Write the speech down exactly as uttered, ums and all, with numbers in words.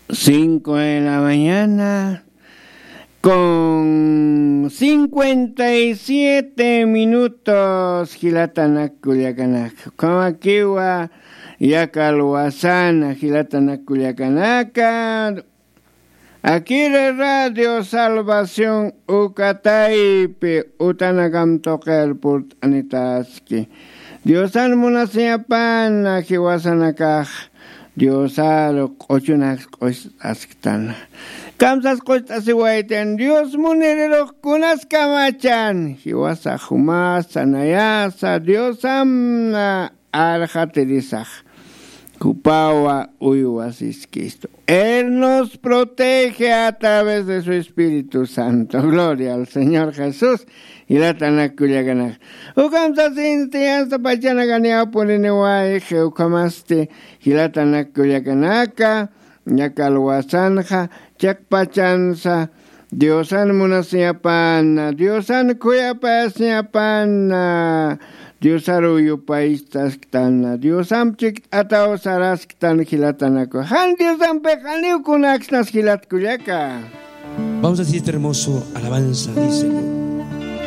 Cinco de la mañana con cincuenta y siete minutos, jilatanak kullakanaka. Ukhamakiwa yakalwasana, jilatanak kullakanaka. Akiri Radio Salvación uka taypi utanakam tuqir purt'anitaski. Diosan munasiñapana jiwasanakax Diosaru q'uchunaks q'ust'asktan. Kamsas q'ust'asiwaytan Dios munirirux kunas kamachan. Jiwasa jumasa nayasa Diosamna arxatirisax. Kupawa uywasiskistu. Él nos protege a través de su Espíritu Santo. Gloria al Señor Jesús. Jilatanak kullakanaka. Ukham sasinti hasta pachanakan yapuniniwayxi ukhamasti jilatanak kullakanaka. Yakalwasanxa chiqpachansa Diosan munasiñapana, Diosan khuyapayasiñapana, Diosaru yupaystasktan, Diosamp chikt'ataw sarasktan jilatanaku. Jan Diosampix janiw kunaksnas jilat kullaka. Vamos a decir este hermoso alabanza, dice.